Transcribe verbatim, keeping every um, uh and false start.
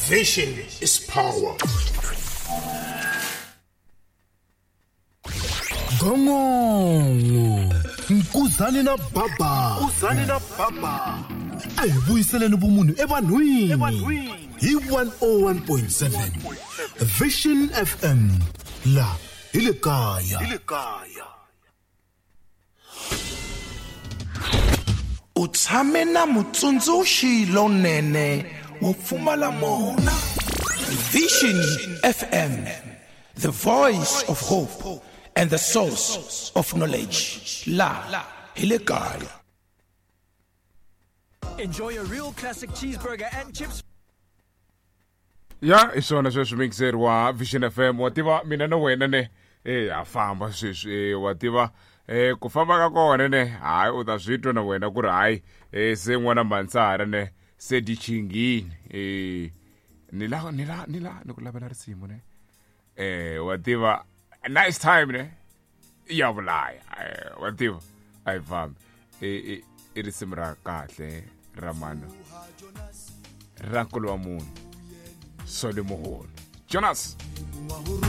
Vision is power. Gongongo Nkuzani na Baba Nkuzani na Baba a hi vuyiseleni vumunhu evanhwini hi one oh one point seven Vision F M la hi le kaya hi le kaya. U tshame na mutsundzuxi lonene wo pfumala mona. Vision F M, the voice of hope and the source of knowledge. La hi le kaya. Enjoy a real classic cheeseburger and chips. Ya, i swona sweswi mixer wa Vision F M. Wa tiva mina na wena ne eh ha famba sweswi, wa tiva eh ku famba ka kona ne hayi u ta swi twa na wena ku ri hayi eh se n'wana Mansara ne se di chingini eh ni la ni la ni la ni ku lavela risimu ne eh wa tiva nice time ne ya vulaya wa tiva a yi fambi eh i risimu ra kahle ra mano ra nkulu wa munhu Solly Moholo Jonas.